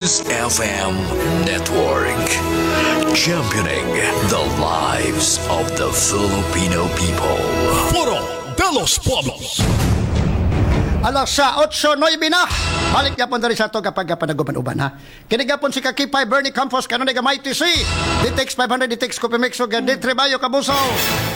FM Network, championing the lives of the Filipino people. Foro de los Pueblos. Alas sa 8:09 na. Balik yapon diri sa ato kapag panaguban-uban ha. Kini gapon si Kakipay Bernie Campos kanunay gamay TC. DTX 500, DTX Coffee Mix ug D3 Bayo Kabuso.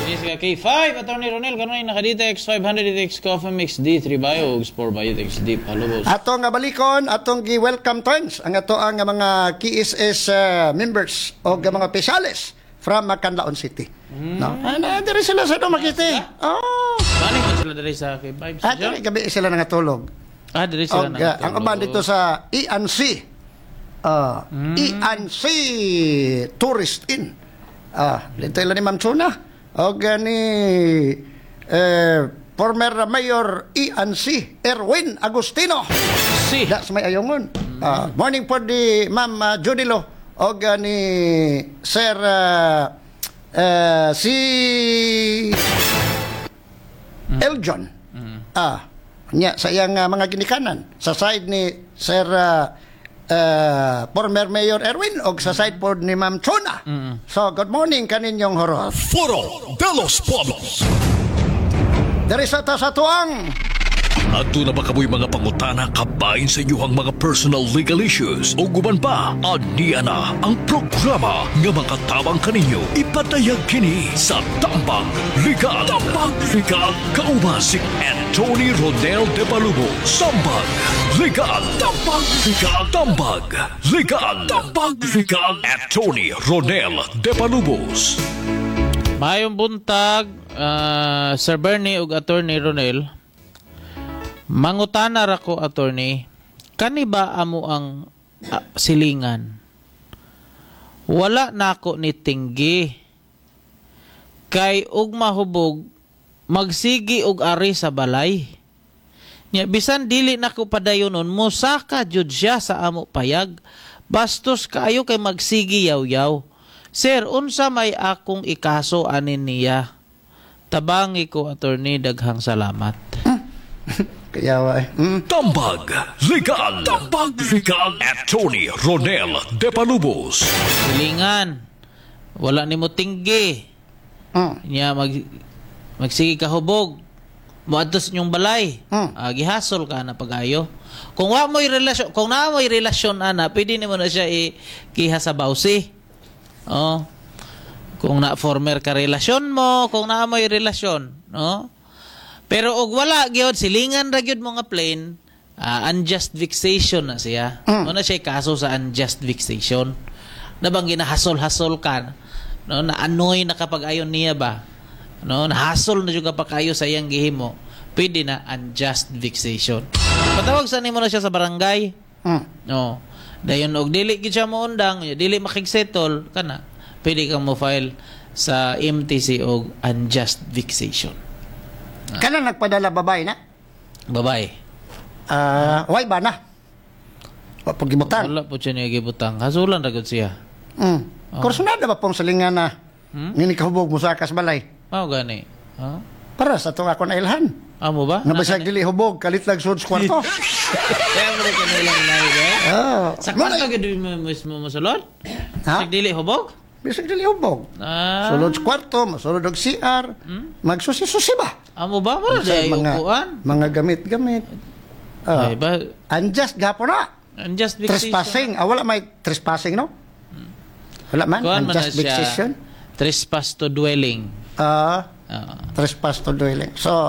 Kini si K5, Attorney Ronel, kanunay naka-DTX 500, DTX Coffee Mix, D3 Bio, ug Sport Biotex D Palubos. Ato nga balikon, atong gi-welcome turns ang ato ang mga KSS members o mga opisyales from Canlaon City. No. Ana diri sila sa Dumaguete. Oh. Bani man sila diri sa K5 Ah, sa diri gabi sila nangatulog. Ah, diri sila Og, ang uban dito sa ENC. ENC Tourist Inn. Ah, dito ila ni Ma'am Chuna. Og ni former Mayor ENC Erwin Agustino. Si. Da sa may ayongon. Ah, morning po di Ma'am Judilo og ni Sir si Eljon. Ah, nya sa iyang mga ginikanan sa side ni Sir former Mayor Erwin og sa side pod ni Ma'am Chona. So, good morning kaninyong horot. Foro de los Pueblos. Diri sa ta sa tuang Adto na ba kamoy mga pangutana kabahin sa inyong mga personal legal issues o guban pa? Aniya na ang programa nga makatabang kaninyo. Ipadayag kini sa Tambag Legal. Tambag Legal. Kauban si Anthony Rodel de Palubos. Tambag Legal. Tambag Legal. Tambag Legal. Tambag Legal. Attorney Ronel de Palubos. Maayong buntag, Sir Bernie ug Attorney Ronel. Mangutana ra ko, attorney, kani ba amo ang silingan? Wala nako ni tinggi. Kay og mahubog magsigi og ari sa balay. Nya bisan dili nako padayonon, mosaka jud siya sa amo payag. Bastos kaayo kay magsigi yaw-yaw. Sir, unsa may akong ikaso anin niya? Tabangi ko, attorney, daghang salamat. Kaya eh. Tambag Legal. Tambag Legal. Attorney Ronel de Palubos. Silingan. Wala nimo tinggi. Nya magsige ka hubog. Moadto sa inyong balay. Ah, gihasol ka na pagayo. Kung wa mo'y relasyon, kung naa mo'y relasyon ana, pwede nimo na siya ikiha sa bawsi. Oh. Kung na former ka relasyon mo, kung naa mo'y relasyon, no? Pero og wala gyud, silingan ra gyud mo nga plain, unjust vexation na siya. Mo na siya kaso sa unjust vexation. Na bang ginahasol-hasol ka, no? Na-annoy na kapag ayon niya ba? No, nahasol na jud ka pa kayo sa iyang gihimo. Pwede na unjust vexation. Patawag sa nimo na siya sa barangay. No. Dayon og dili gid siya moundang, dili makigsettle kana, pwede kang mo file sa MTC og unjust vexation. Kana nagpadala babae na? Babae. Ah, way ba na? Wa pag gibutang. Wala po siya niya gibutang. Hasulan ra gud siya. Kursunada ba pong silingan na ngini kahubog mo sa balay? Mao gani. Ha? Para sa itong ako na ilhan. Amo ba? Nga bisag dili hubog, kalit lang sud sa kwarto. Kaya mo rin kanilang lahi ba? Oh. Sa kwarto gid mo mismo mosulod? Ha? Bisag dili hubog? Bisag dili hubog. Ah. Sulod sa kwarto, masulod og CR, magsusi-susi ba? Amo ba? Wala Sa di mga, upuan. mga gamit-gamit. Ah, Ay ba? Unjust gapon na. Unjust vexation. Trespassing. Ah, wala may trespassing, no? Wala man. Kuan man na Unjust siya. vexation. Trespass to dwelling. Ah, Ah. trespass to dwelling. So,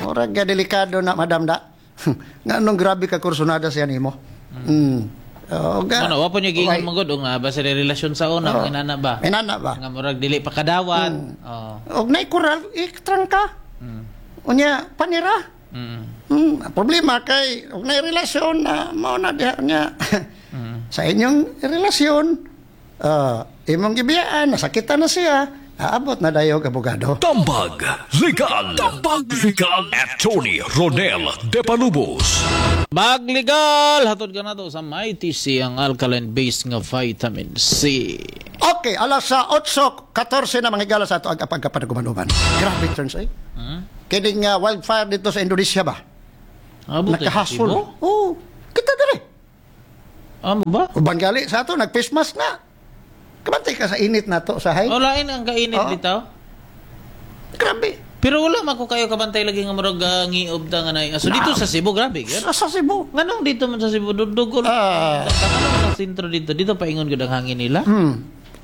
murag ga delikado na, madam da. Nga nung grabe ka kursunada siya nimo. Oh, ga. Ano, wa po niya giingon Okay. man gud nga ba sa relasyon sa una, Oo. oh. inana ba? Inana ba? Nga murag dili pa kadawat. Oh. Og nay kural itrangka. Unya panira. Problema kay og nay relasyon na mao na diha niya. Sa inyong relasyon, imong gibiyaan, nasakitan na siya, aabot na dayog abogado. Tambag Legal. Tambag Legal. Attorney Ronel de Palubos. Magligal hatod ka na to sa Mighty C, ang alkaline base nga vitamin C. Okay, alas sa 8:14 na mga higala sa ato ang pagkapanagumanuman. Grabe turns eh. Kining wildfire dito sa Indonesia ba? Abot Nakahasol. Oo. Kita dire. Amo ba? Uban gali sa ato nag-face mask na. Kabantay ka sa init nato sa hay. O lain ang kainit Oo. bitaw. Grabe. Pero wala man ko kayo kabantay lagi nga murag ngiob ta nga nay. So dito sa Cebu grabe gyud. Sa Cebu. Nganong dito man sa Cebu dudugol. Nganong sa sentro dito dito paingon gud ang hangin nila.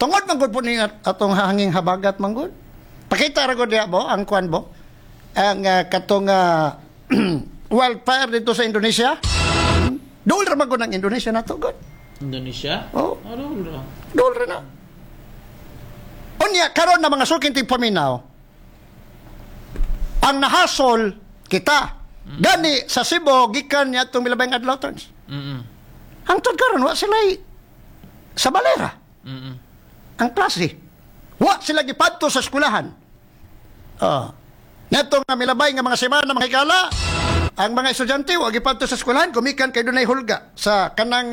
Tungod man gud po ni atong hanging habagat man gud. Pakita ra gud diha bo ang kuan bo. Ang katong wildfire dito sa Indonesia. Dool ra man gud ang Indonesia nato gud. Indonesia? Oh. Ano ra? Dool ra na. Unya karon na mga suking tigpaminaw. Ang nahasol kita. Gani sa Cebu gikan niya atong milabay adlaw turns. Hangtod karon wa sila sa balera. Ang klase. Wa sila gipadto sa eskwelahan. Nato nga milabay nga mga semana mga higala, ang mga estudyante wa gipadto sa eskwelahan gumikan kay dunay hulga sa kanang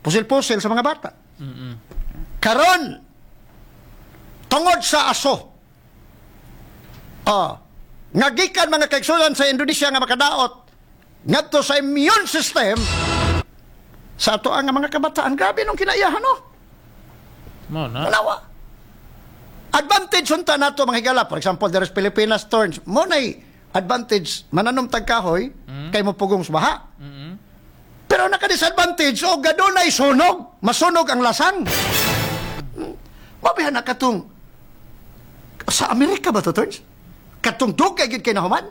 pusil-pusil sa mga bata. Karon tungod sa aso. Nga gikan mga kaigsunan sa Indonesia nga makadaot ngadto sa immune system sa ato ang mga kabataan. Grabe nung kinaiyahan, no? Mo na. Wala. Advantage unta nato mga higala. For example, there is Pilipinas turns. Mo nay advantage mananom tag kahoy kay mo pugong sa baha. Pero naka-disadvantage o gadunay sunog, masunog ang lasang. Mabihan na katong sa Amerika ba to turns? Katong dugay gid kay nahuman?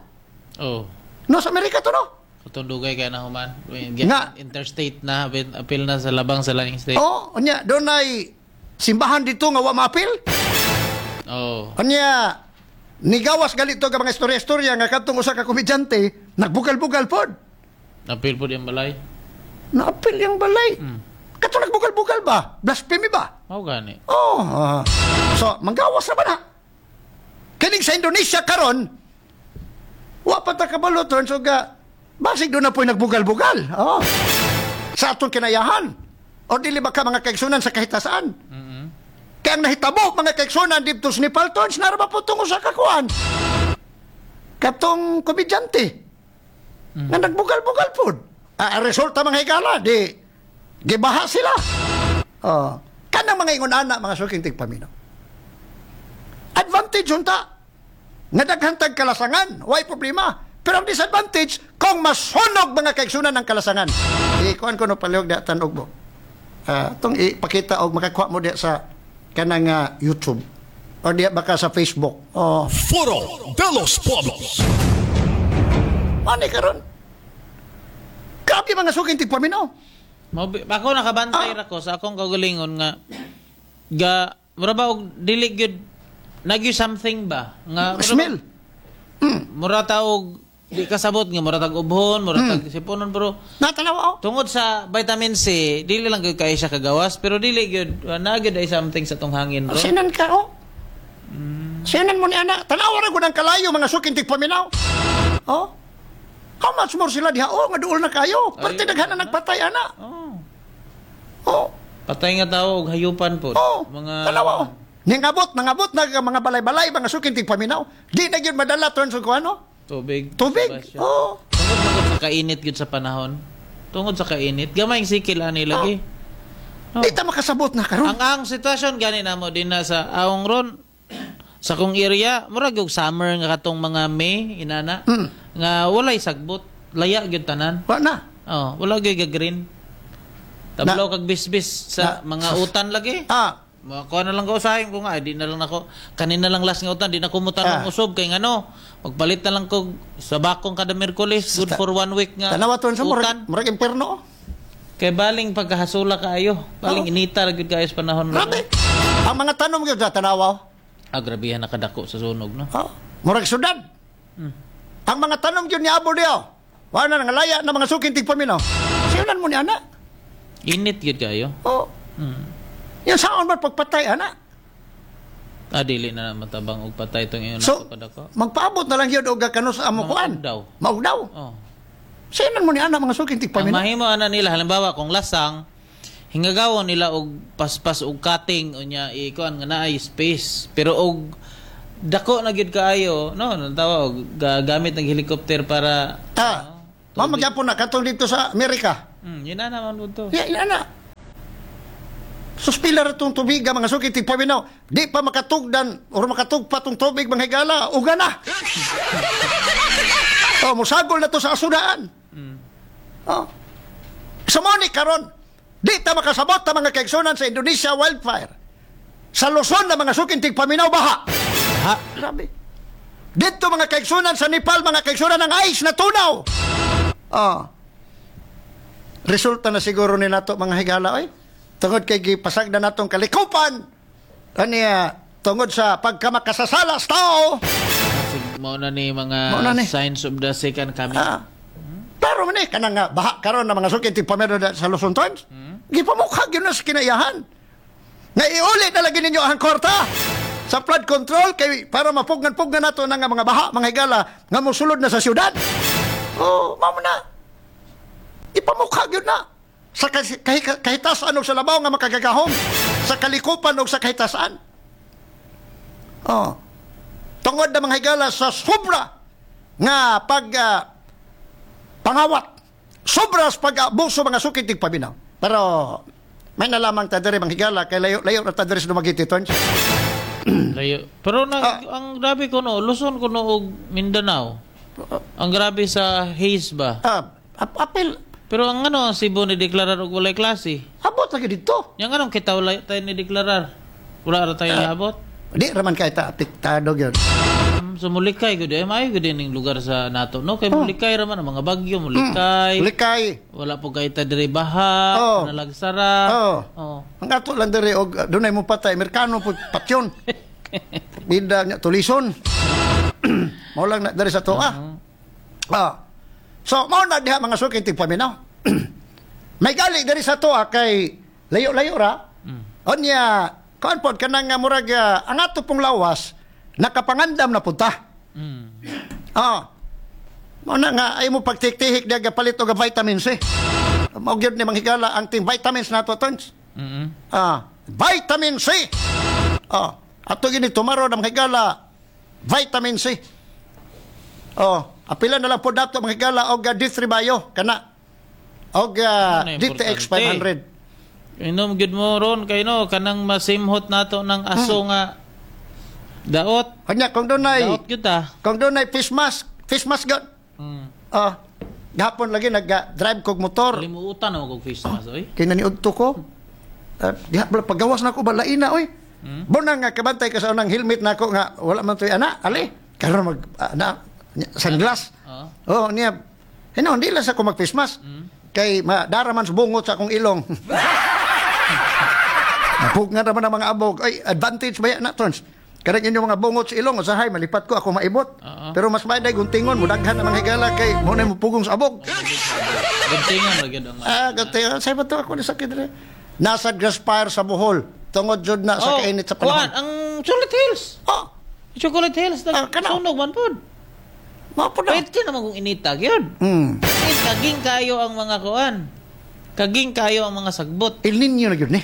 Oh. No, sa Amerika to no. Katong dugay kay nahuman. Nga. Interstate na, appeal na sa labang sa laing state. Oh, unya dunay simbahan dito nga wa maapil. Oh. Unya nigawas galito ka mga istorya-istorya nga katong usa ka komedyante nagbugal-bugal pod. Appeal pod yung balay. Naapil yung balay. Katong nagbugal-bugal ba? Blasphemy ba? Mao gani. Oh. So, manggawas na ba na? Kining sa Indonesia karon, wa pa ta kabalo turn so ga basig doon na po'y nagbugal-bugal. Oh. Sa atong kinayahan. O dili ba ka mga kaigsunan sa kahitasaan? Kaya ang nahitabo mga kaigsunan dito sa Nepal turns, nara ba po tungo sa kakuan? Katong komedyante. Nga nagbugal-bugal pod. Ang resulta mga higala, di gibaha sila. Oh. Kanang mga ingon ana mga suking tigpaminaw. Advantage unta. Nga daghan tag kalasangan, way problema. Pero ang disadvantage kung masunog mga kaigsunan ng kalasangan. Ikuan ko no palihog diha tanog mo. Tong ipakita og makakuha mo diha sa kanang YouTube o diha baka sa Facebook. Oh, Foro de los Pueblos. ani karon. Grabe mga suking tigpaminaw. Ako nakabantay ra ko sa akong kaugalingon nga ga mura ba og dili gyud nagyo something ba nga mura Smell. Mura ta og di kasabot nga mura tag ubhon, mura tag siponon, pero Natanaw oh. tungod sa vitamin C dili lang gyud kay siya kagawas, pero dili gyud na gyud ay something sa tong hangin ro. Sinan ka oh. Sinan mo ni ana. Tanawa ra gud ang kalayo mga suking tigpaminaw. Oh. How much more sila diha oh nga duol na kayo. Parte daghan na nagpatay ana. Oh. Oh. Patay nga tao og hayupan po. Oh. Mga Tanawa oh. Ningabot, nangabot na mga balay-balay mga suking tigpaminaw. Di na gyud madala turn sa kuano. Tubig. Tubig. Oh. Tungod sa kainit gyud sa panahon. Tungod sa kainit, gamay ang sikil ani lagi. Oh. Di ta makasabot na karon. Ang sitwasyon gani namo din na sa awong ron sa kong area, murag og summer nga katong mga May inana nga walay sagbot, laya gyud tanan. Wa na. Oh, wala gyud ga-green. Tablaw kag bisbis sa mga utan lagi. Ah. Makuha na lang ko usahin ko nga, di na lang ako, kanina lang last nga utan, di na kumutan ng usob, kay ngano, magpalit na lang ko sa bakong kada Miyerkules, good for 1 week nga Tanawa to sa utan. murag imperno. Kay baling pagkahasula kaayo, baling inita ra gyud kaayo sa panahon. Grabe. Ang mga tanom gyud sa tanawa. Ah, grabehan nakadako sa sunog, no? Oh, murag syudad. Ang mga tanom gyud ni abo diyo. Wa na nangalaya na mga suking tigpaminaw. Siunan mo ni ana. Init gyud kaayo. Oh. Yan saan ba pagpatay ana? Ah, dili na matabang og patay tong ingon So, ako kadako. magpaabot na lang gyud og kano sa amo kuan. Maugdaw. Maugdaw. Oh. Siunan mo ni ana mga suking Ang tigpaminaw. mahimo ana nila halimbawa kung lasang hingagawon nila og paspas og cutting unya ikuan nga naay space, pero og dako na gyud kaayo no natawa og gamit ng helicopter para Ah, mao magyapon na katong dito sa Amerika. Yun na naman po to. Ya, yan na. Suspila ra tong tubig mga suki tigpaminaw. Di pa makatugdan or makatugpa tong tubig mga higala, uga na. Oh, musagol na to sa asudaan. Oh. Sa mo ni karon, di ta makasabot ta mga kaigsunan sa Indonesia wildfire. Sa Luzon na mga suki tigpaminaw baha. Ha? Grabe. Dito mga kaigsunan sa Nepal, mga kaigsunan ng ice na tunaw. Oh. Resulta na siguro ni nato mga higala oy. Tungod kay gipasag na natong kalikupan. Aniya tungod sa pagkamakasasala sa tao. Mao na ni mga Mao na ni. signs of the second coming. Ah. Pero man eh, kanang nga baha karon na mga suki tigpamero sa Luzon Times. Gipamukha gyud na sa kinaiyahan. Nga iuli na lagi ninyo ang kwarta sa flood control kay para mapugnan-pugnan nato na nga mga baha, mga higala nga mosulod na sa syudad. Oh, mao na. Ipamukha gyud na sa kahitasan og sa labaw nga makagagahom, sa kalikupan og sa kahitasan. Oh. Tungod na mga higala sa sobra nga pag pangawat, sobra sa pag-abuso mga sukit tigpaminaw. Pero may nalamang ta diri mga higala kay layo-layo ra ta diri sa Dumaguete, Tons. Layo. Pero ang grabe ko no, Luzon ko no og Mindanao. Ang grabe sa haze ba? Apil Pero ang ano, ang Cebu ni deklarar og walay klase. Abot lagi dito. Yang anong kita wala tayo ni deklarar? Wala ra tayo abot. Di raman kay ta apektado gyud. So mulikay gud ay maayo gud ning lugar sa nato no kay mulikay ra man ang mga bagyo mulikay. Likay. Wala po kay ta diri baha, Oh. nalagsara. Oh. Oh. Ang ato lang diri og dunay mo patay Amerikano pud patyon. Bida nya tulison. Mao lang na diri sa toa. Ah. So mao na diha mga suki tigpaminaw. May gali diri sa toa kay layo-layo ra. Unya kuan pod kanang nga murag ang ato pong lawas nakapangandam na punta. Ah. Mao na nga ay mo pagtiktihik diha palit og vitamin C. Mao gyud ni manghigala ang ting vitamins nato tons. Ah, vitamin C. Ah, ato gini tomorrow na manghigala vitamin C. Oh, apila na lang po dato manghigala og D3 Bio kana. Og Ano, DTX importante. 500. Inom gyud mo ron kay no kanang masimhot nato ng aso nga daot. Kanya kung dunay Daot gyud ta. kung dunay face mask gyud. Ah, gahapon lagi nag-drive kog motor. Kalimutan ako kog face mask oy. Kay naniudto ko. Diha bala pagawas na ako balaina oy. Bunang nga kabantay ka sa unang helmet nako nga wala man toy ana, ali. Karon mag ana sunglass. Oh, niya. Hino, hindi lang sa ko mag face mask. Kay madara man sa bungot sa akong ilong. Napug nga naman ang mga abog. Ay, advantage ba yan na, Tons? Karang inyong mga bungot sa ilong, usahay, malipat ko, ako maibot. Pero mas may guntingon, mudaghan ang mga higala kay mo na mo pugong sa abog. Guntingon ra gyud ang Ah, guntingon. Sa ba to ako ni sakit rin. Nasa grass fire sa Bohol. Tungod jud na sa kainit sa panahon. Kuan, ang Chocolate Hills. Oh, Chocolate Hills Ah, kana. sunog man pod. Mao po na. Pwede naman kung inita gyud. Eh, kaging kayo ang mga kuan. Kaging kayo ang mga sagbot. El Niño na gyud ni.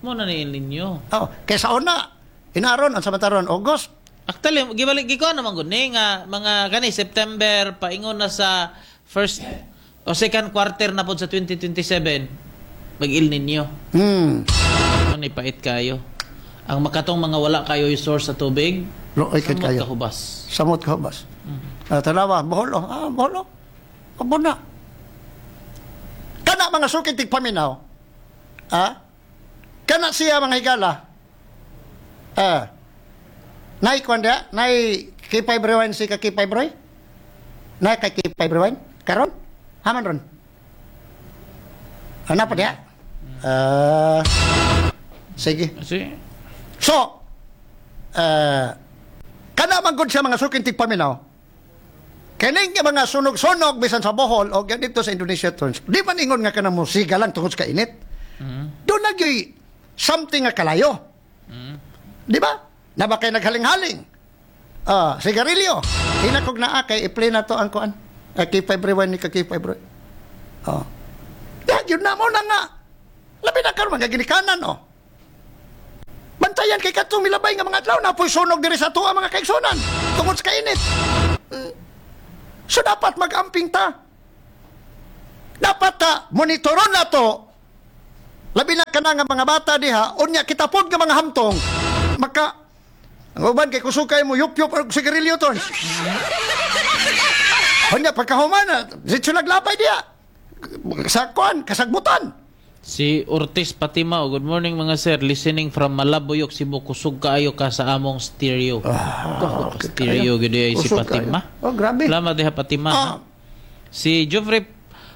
Mo na ni El Niño. Oh, kaysa una, inaron ang samataron August. Actually, gibalik gikuan naman gud ni nga mga kani September paingon na sa first o second quarter na pod sa 2027 mag El Niño. Mo ni pait kayo. Ang makatong mga wala kayo yung source sa tubig. Looy kay Samot kayo. kahubas. Samot kahubas. Tanawa, Bohol oh. Ah, Bohol oh. Abo na. Kana mga sukit tigpaminaw. Ah? Kana siya mga higala. Ah. Nay kwan dia, nay K5 rewind si ka K5 Roy? Nay kay K5 rewind? Karon? Haman ron. Ano pa dia? Sige. Sige. So, kana man gud siya mga suking tigpaminaw. Kining nga mga sunog-sunog bisan sa Bohol o dito sa Indonesia tons. Di man ingon nga kanang musika lang tungod sa kainit. Doon na gyud something nga kalayo. Di ba? Na ba kay naghaling-haling? Sigarilyo. Hinakog na kay i-play na to ang kuan. K5 rewind ni ka K5 rewind. Oh. Ya, yun na mo na nga. Labi na karon mga ginikanan oh. Bantayan kay katong milabay nga mga adlaw na po'y sunog diri sa tuwa mga kaigsunan tungod sa kainit. So dapat mag-amping ta. Dapat ta monitoron na to. Labi na kana nga mga bata diha, unya kita pod nga mga hamtong maka ang uban kay kusog kay mo yup-yup og sigarilyo ton. Unya pagkahuman na, diretso naglapay diha. Sa kuan, kasagbutan. Si Ortiz Patima, oh, good morning mga sir, listening from Malabuyok, Cebu. Kusog kaayo ka sa among stereo. Ah, stereo gid ay si Patima. Oh, grabe. Salamat diha Patima. Ha? Si Jeffrey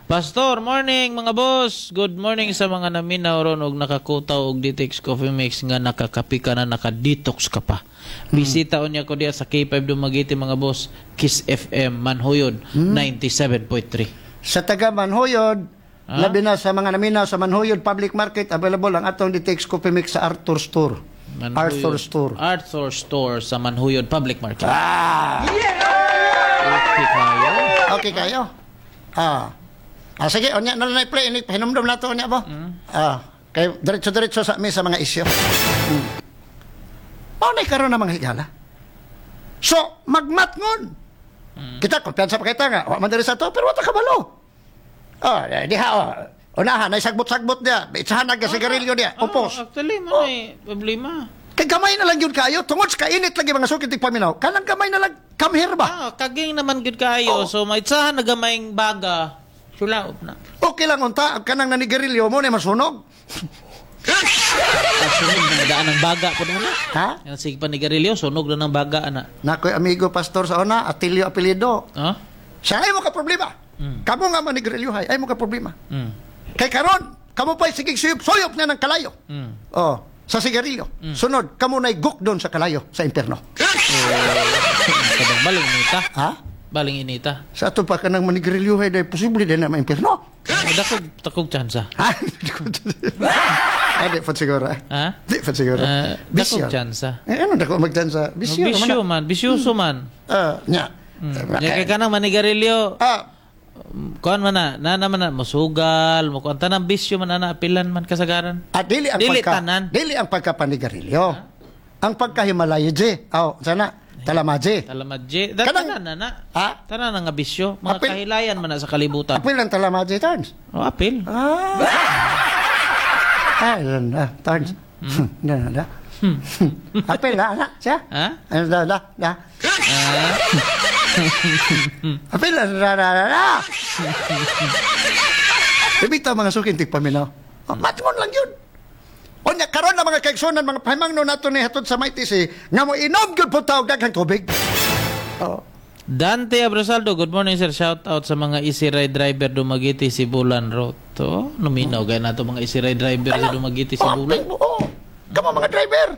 Pastor, morning mga boss. Good morning sa mga naminaw ron og nakakutaw og Detox Coffee Mix nga nakakapi ka na, naka-detox ka pa. Bisita unya ko diya sa K5 Dumaguete mga boss, Kiss FM Manhuyod 97.3. Sa taga Manhuyod, labi na sa mga naminaw sa Manhuyod Public Market, available ang atong Detox Coffee Mix sa Arthur Store. Manhuyod. Arthur Store. Arthur Store sa Manhuyod Public Market. Ah! Okay kayo. Okay kayo. Ah. Ah, sige, unya na lang play ini hinumdum na to unya ba? Ah, kay diretso-diretso sa mi sa mga isyu. Mao na karon na mga higala. So, magmatngon. Kita kumpiyansa pa kita nga, wa man diri sa to, pero wa ta kabalo. Ah, diha oh. Unahan ay sagbot-sagbot diha. Itsahan na sigarilyo diha. Oh, Upos. actually, man ay problema. Kay gamay na lang yun kayo tungod sa kainit lagi mga sukit paminaw. Kanang gamay na lang come here ba? Ah, kaging naman gud kaayo. Oh. So maitsahan na gamayng baga. Sulaop na. Okay lang unta kanang nanigarilyo mo na masunog. Ah, sunog na daan ng baga po na. Ha? Yan sige pa nigarilyo, sunog na ng baga ana. Nakoy amigo pastor sa una, Atilio apelyido. Ha? Siya ay mo ka problema. Kamo nga manigarilyo hay, ay mo ka problema. Kay karon, kamo pa'y sige suyop, suyop na ng kalayo. Oh, sa sigarilyo. Sunod, kamo na'y guk doon sa kalayo, sa impierno. Kabang baling inita. Ha? Baling inita. Sa ato pa ka ng manigarilyo hay, dahil posible din na maimpierno. Dakog dakog tsansa. Ha? Ay, di pa siguro. Eh. Ha? Di pa siguro. Dakog tsansa. Eh, ano dako magtsansa? Bisyo. Bisyo man, bisyoso man. Nya. Nya kay kanang manigarilyo, kuan man na, na naman na mosugal, mo kuan tanang bisyo man ana apilan man kasagaran. At dili ang Dili pagka, tanan. dili ang pagkapanigarilyo. Ang pagkahimalaya, J. Aw, sana talamaje. Talamadje. Da, Kanang- tanan na na. Ha? Tanan na nga bisyo. Mga Apil- kahilayan man na sa kalibutan. Apil ang talamaje, Tarns. Oh, apil. Ah. Ah, na, Tarns. Na, na, na. Apil na, na, siya. Ha? Ano, da, da, da. Ah. Apil na, na, na, na, na. Ibig mga sukin, tigpaminaw. Oh, matngon lang yun. Onya karon na mga kaigsunan mga pahimangno nato ni hatod sa Maitisi nga mo inom gyud po tawag daghang tubig. Oh. Dante Abrasaldo, good morning sir. Shout out sa mga Easy Ride driver Dumaguete Sibulan Road. To, numinaw gay nato mga Easy Ride driver sa Dumaguete Sibulan. Oh, kamo mga driver.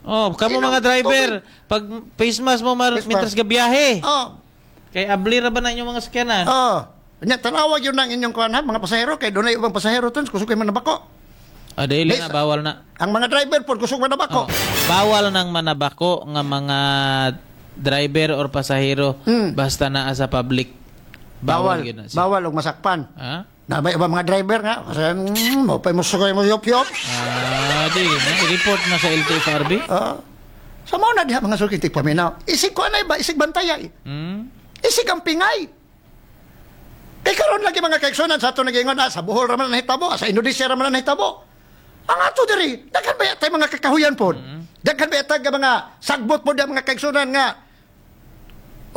Oh, kamo Inom mga driver, pag face mask mo mar Face mask. mitras ka biyahe. Oh. Kay abli ra ba na inyong mga sakyanan? Oh. Nya tanawag yun ang inyong kuan ha, mga pasahero kay dunay ubang pasahero tons kusog kay manabako. Ah, dili na bawal na. Ang mga driver pod kusog manabako. Oh, bawal nang manabako nga mga driver or pasahero basta naa sa public. Bawal. Bawal gyud na siya. Bawal og masakpan. Ha? Na may ubang mga driver nga kasi mo pa mo sugay mo yop-yop. Ah, di na report na sa LTFRB. Ah. Sa mao na diha mga suki tigpaminaw. Isig kuan ay ba isig bantayay. Isig ang pingay. Kay karon lagi mga kaigsunan sa ato nagingon sa Bohol ra man nahitabo, sa Indonesia ra man nahitabo. Ang ato diri, daghan ba tay mga kakahuyan pod? Daghan ba tag mga sagbot pod ang mga kaigsunan nga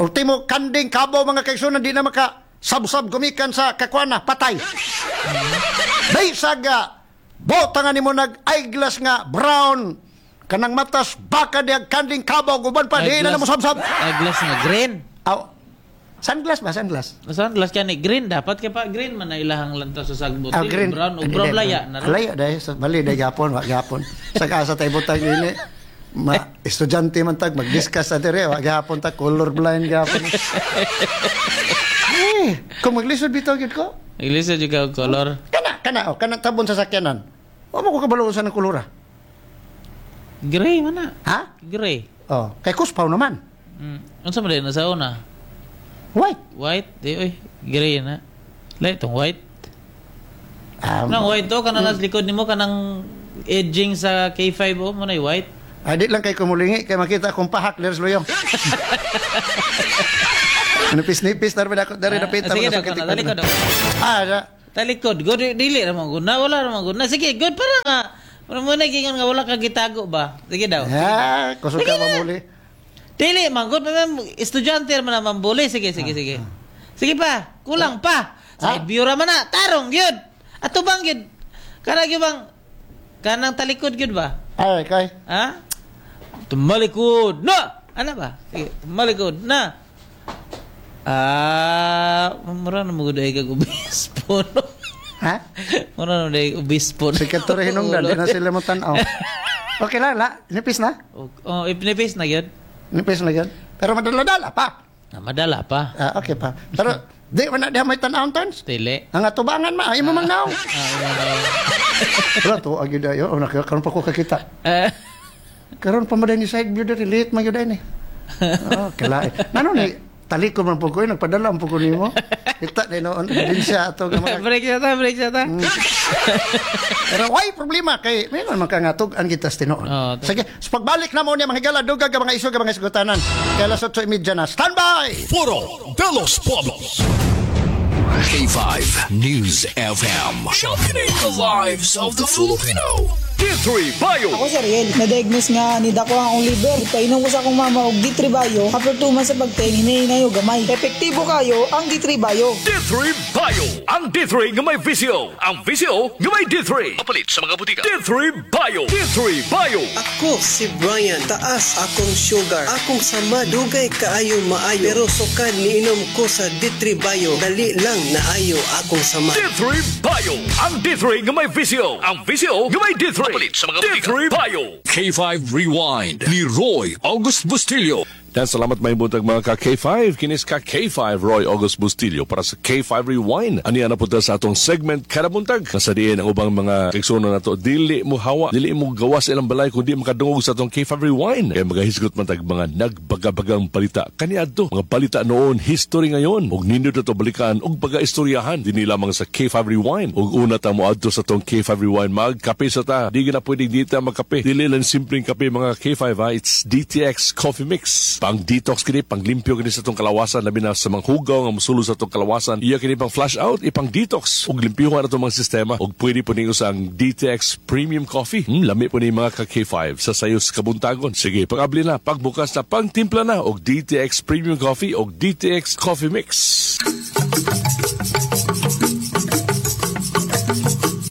ultimo kanding kabaw mga kaigsunan di na maka sabsab gumikan sa kakwana patay. Bisag bota nga nimo nag eyeglass nga brown kanang matas baka diag kanding kabaw guban pa di na namo sabsab. Eyeglass nga green. Aw. Sunglass ba sunglass? Sunglass kani green dapat kay pa green man na ilahang lantaw sa sagbot. Ah, green. Brown o brown laya na. Laya dahil sa bali dahil gapon, wa gapon. Sa asa tayo butang ini. Ma estudyante man tag mag-discuss sa dire, wa gapon ta color blind gapon. Eh, kung maglisod bitaw gyud ko. Maglisod jud ka og color. Kana kana oh, kana tabon sa sakyanan. Wa mo ko kabalo sa ng kolora. Gray man na. Ha? Gray. Oh, kay kuspaw naman. Unsa man na sa una? White. White, di oy, gray na. Lay tong white. Nang white to kanang nas likod nimo kanang edging sa K5 oh, mo na white. Ay, di lang kay kumulingi kay makita akong pahak diri sa luyong. Nipis-nipis na rin ako dari napita. Sige mo daw, na kuna, talikod daw. Ah, na. Talikod, good, dili ra man gud na, wala ra man gud na. Sige, good para nga. Mura mo na gingon nga wala ka gitago ba? Sige daw. Ya, kusog ka mamuli. Dili man gud, ma'am, estudyante man naman buli. Sige, sige, sige. Sige pa, kulang pa. Side view ra man na, tarong gyud. Ato bang gyud? Kana gyud bang kanang talikod gyud ba? Ay, kay. Ha? Tumalikod na. Ano ba? Sige, tumalikod na. Ah, mura na mo gud ay kag obispo, no? Ha? Mura na mo obispo. Sikat to rin hinungdan, di na sila mo tanaw. Okay lang, la. Nipis na? Oh, ipnipis na gyud. Nipis na yun. Pero madala-dala pa. Ah, madala pa. Ah, okay pa. Pero di man na diha may tan-awon tons. Dili. Ang atubangan ma, ay mo mang naong. Ah, Wala to, agi dayo. Oh, karon pa ko kakita. Eh, Karon pa man ni side view diri, late man gyud ni. Oh, kalae. Nano ni talikod man pud ko, nagpadala man pud ko nimo. Kita ni noon din siya ato nga mga Break siya ta, break siya ta. Pero why problema kay meron man ka nga tug-an kita sa tinuod. Oo, Sige, sa pagbalik na mo niya mga higala dugag ang mga isog ang mga isgutanan. Kay alas 8:30 na. Stand by. Foro de los Pueblos. K5 News FM. Championing the lives of the Filipino. D3 Bio. Ako si Ariel, na-diagnose nga ni dako ang akong liver. Painom ko sa akong mama og D3 Bio. After 2 months sa pagtain, hinay gamay. Epektibo kayo ang D3 Bio. D3 Bio. Ang D3 nga may VCO. Ang VCO nga may D3. Kapalit sa mga butika. D3 Bio. D3 Bio. Ako si Brian, taas akong sugar. Akong sama dugay kaayo maayo. Pero sukad niinom ko sa D3 Bio, dali lang naayo akong sama. D3 Bio. Ang D3 nga may VCO. Ang VCO nga may D3. Kapalit sa mga butika. D3 Bio. K5 Rewind ni Roy August Bustillo. Dan salamat may buntag mga ka K5. Kinis ka K5 Roy August Bustillo para sa K5 Rewind. Aniya na punta sa atong segment kada buntag. Nasa diin ang ubang mga kaigsuonan nato. Dili mo hawa, dili mo gawas ilang balay kung di makadungog sa atong K5 Rewind. Kaya magahisgot man tag mga nagbagabagang balita. Kaniadto, mga balita noon, history ngayon. Og nindot ato balikan og pagaistoryahan dinhi lamang sa K5 Rewind. Og una ta mo adto sa atong K5 Rewind, magkape sa ta. Di na pwedeng di ta magkape. Dili lang simpleng kape mga K5 ha. It's DTX Coffee Mix. Pang detox kini, pang limpyo kini sa atong kalawasan, labi na sa mga hugaw nga mosulo sa atong kalawasan. Iya kini pang flush out, ipang detox ug limpyuhan atong mga sistema. Ug pwede po ninyo sa ang DTX Premium Coffee. Lami po ni mga ka K5 sa sayos kabuntagon. Sige, pag-abli na, pagbukas na, pangtimpla na og DTX Premium Coffee og DTX Coffee Mix.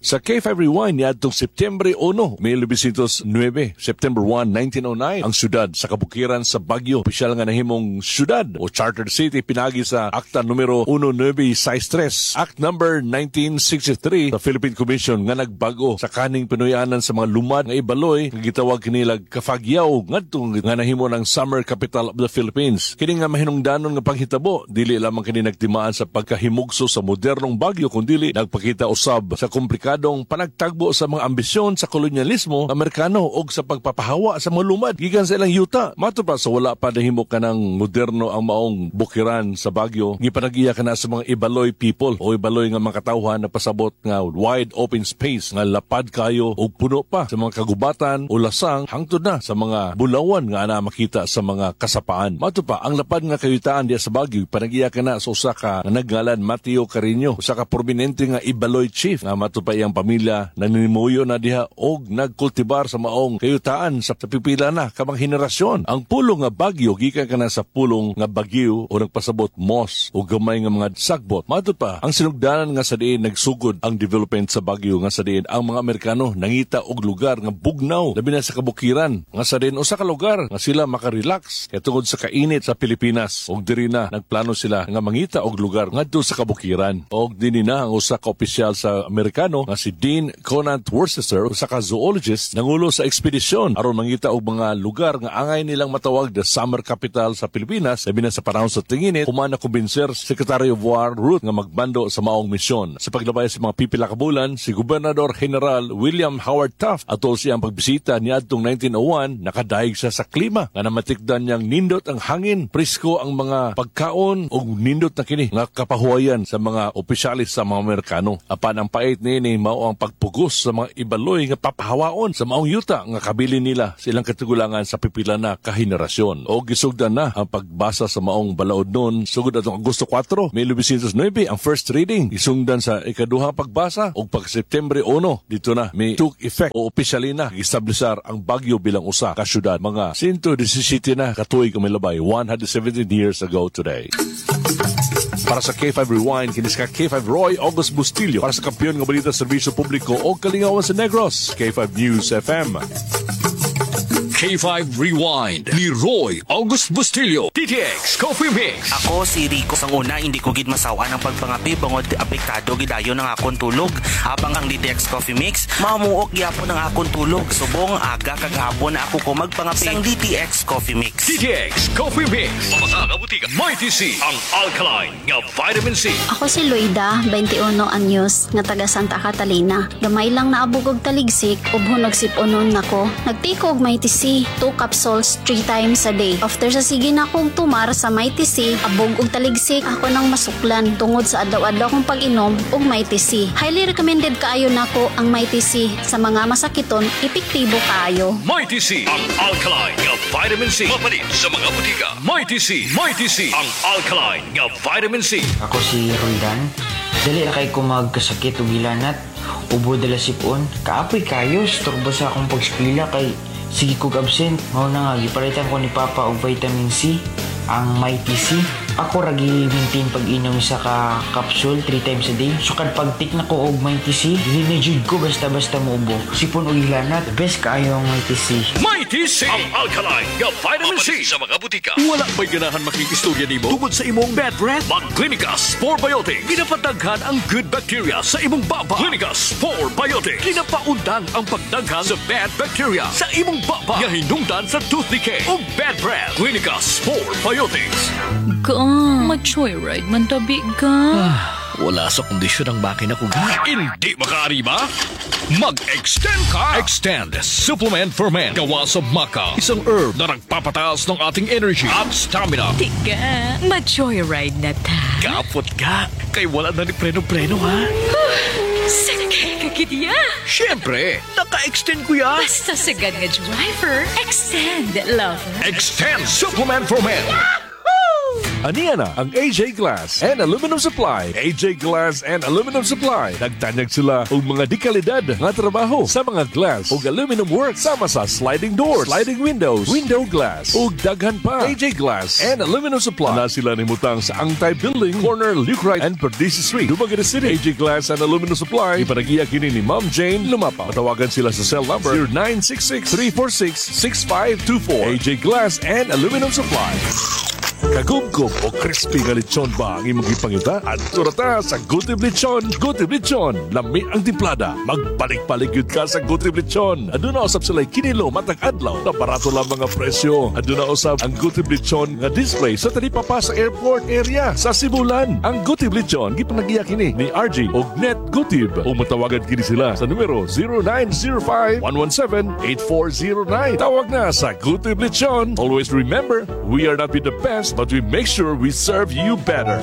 Sa K5 Rewind niadtong Setyembre 1, 1909, September 1, 1909, ang syudad sa kabukiran sa Baguio, opisyal nga nahimong syudad o chartered city pinagi sa Akta numero 1963, Act number 1963 sa Philippine Commission nga nagbago sa kaning Pinoyanan sa mga lumad nga Ibaloy nga gitawag kinilag Kafagyaw ngadto nga nahimo ng summer capital of the Philippines. Kini nga mahinungdanon nga panghitabo, dili lamang kini nagtimaan sa pagkahimugso sa modernong Baguio kundili nagpakita usab sa komplikadong panagtagbo sa mga ambisyon sa kolonyalismo Amerikano og sa pagpapahawa sa mga lumad gikan sa ilang yuta. Mato pa sa wala pa nahimo kanang moderno ang maong bukiran sa Baguio, gipanagiya kana sa mga Ibaloy people o Ibaloy nga mga katawhan na pasabot nga wide open space nga lapad kayo og puno pa sa mga kagubatan o lasang hangtod na sa mga bulawan nga ana makita sa mga kasapaan. Mato pa ang lapad nga kayutaan diya sa Baguio, panagiya kana sa usa ka nga naggalan Mateo Carino, usa ka prominente nga Ibaloy chief nga mato pa iyang pamilya naninimuyo na diha og nagkultibar sa maong kayutaan sa pipila na kamang henerasyon. Ang pulong nga Baguio gikan kana sa pulong nga Bagyo o nagpasabot moss o gamay nga mga sagbot. Mato pa ang sinugdanan nga sa diin nagsugod ang development sa Baguio nga sa diin ang mga Amerikano nangita og lugar nga bugnaw labi na sa kabukiran nga sa diin usa ka lugar nga sila makarelax kay tungod sa kainit sa Pilipinas, og diri na nagplano sila nga mangita og lugar ngadto sa kabukiran. Og dinhi na ang usa ka opisyal sa Amerikano nga si Dean Conant Worcester, usa ka zoologist, nangulo sa ekspedisyon aron mangita og mga lugar nga angay nilang matawag the summer capital sa Pilipinas labi na sa panahon sa tinginit. Human na kumbinser Secretary of War Ruth nga magbando sa maong misyon. Sa paglabay sa mga pipila ka bulan, si Gobernador General William Howard Taft atol siyang pagbisita niadtong 1901, nakadaig siya sa klima nga namatikdan niyang nindot ang hangin, presko ang mga pagkaon ug nindot na kini nga kapahuwayan sa mga opisyalis sa mga Amerikano. Apan ang pait niini mao ang pagpugos sa mga ibaloy nga papahawaon sa maong yuta nga kabilin nila sa ilang katigulangan sa pipila na kahenerasyon. O gisugdan na ang pagbasa sa maong balaod nun sugod atong Agosto 4, 1909 ang first reading, isungdan sa ikaduhang pagbasa ug pag September 1 dito na may took effect o opisyali na giestablisar ang Baguio bilang usa ka syudad, mga 117 na katuig ang milabay, 117 years ago today. Para sa K5 Rewind, kinis ka K5 Roy August Bustillo. Para sa kampiyon nga balita, serbisyo publiko o kalingawan sa Negros, K5 News FM. K5 Rewind ni Roy August Bustillo. DTX Coffee Mix. Ako si Rico. Sang una, hindi ko gid masawa ng pagpangapi bangod apektado gidayon ang akong tulog. Apang ang DTX Coffee Mix, mamuok gyapon ang akong tulog. Subong aga kag hapon na ako ko magpangapi sang DTX Coffee Mix. DTX Coffee Mix. Pamasa butika. Mighty C. Ang alkaline nga vitamin C. Ako si Loida, 21 anyos, nga taga Santa Catalina. Gamay lang naabog og taligsik, ubhon og sipunon nako. Nag-take og Mighty C, 2 capsules 3 times a day. After sa sige na kong tumar sa Mighty C, abog og taligsik ako nang masuklan tungod sa adlaw-adlaw kong pag-inom og Mighty C. Highly recommended kaayo nako ang Mighty C sa mga masakiton, epektibo kaayo. Mighty C. Ang alkaline nga vitamin C. Mapalit sa mga butika. Mighty C. Mighty C. Ang alkaline nga vitamin C. Ako si Roldan. Dali ra kay ko magkasakit ug hilanat. Ubo dala sipon. Kaapoy kayo, storbo sa akong pagskwela kay sige kog absent. Mao na nga gipalitan ko ni Papa og vitamin C, ang Mighty C. Ako ra gi-maintain pag-inom sa ka capsule 3 times a day. Sukad pag-take na ko og Mighty C, dili na jud ko basta-basta muubo. Sipon ug hilanat, best kaayo ang Mighty C. Mighty C. Ang alkaline nga vitamin C. Sa mga butika. Wala ba'y ganahan makikistorya nimo tungod sa imong bad breath? Mag-Clinica Spore Biotic. Ginapadaghan ang good bacteria sa imong baba. Clinica Spore Biotic. Ginapaundang ang pagdaghan sa bad bacteria sa imong baba nga hinungdan sa tooth decay o bad breath. Clinica Spore Biotics. Ga, ma-joyride man tabi ga. Wala sa kondisyon ang makina ko, ga. Hindi makaariba? Mag-extend ka! Extend Supplement for Men. Gawa sa maca. Isang herb na nagpapataas ng ating energy at stamina. Tiga, ma-joyride na ta. Kapot ka. Kay wala na ni preno-preno, ha? Sakay ka gidya. Siyempre, naka-extend ko yan. Basta sagad nga driver, extend, lover. Extend Supplement for Men. Aniya na ang AJ Glass and Aluminum Supply. AJ Glass and Aluminum Supply. Nagtanyag sila og mga dekalidad nga trabaho sa mga glass ug aluminum work sama sa sliding doors, sliding windows, window glass ug daghan pa. AJ Glass and Aluminum Supply. Na sila nimutang sa Angtay Building, corner Luke and Perdices Street, Dumaguete City. AJ Glass and Aluminum Supply. Ipanagiya kini ni Ma'am Jane Lumapa. Matawagan sila sa cell number 0966 346 6524. AJ Glass and Aluminum Supply. Kagumgum o crispy nga lechon ba ang imong gipangita? Adto ra ta sa Gutib Lechon. Gutib Lechon, lami ang timplada. Magbalik-balik yun ka sa Gutib Lechon. Aduna usab sila kinilo matag adlaw na barato lang mga presyo. Aduna usab ang Gutib Lechon nga display sa talipapa sa airport area sa Sibulan. Ang Gutib Lechon gipanagiya kini ni RG og Net Gutib. O matawagan kini sila sa numero 0905 117 8409. Tawag na sa Gutib Lechon. Always remember, we are not be the best, but we make sure we serve you better.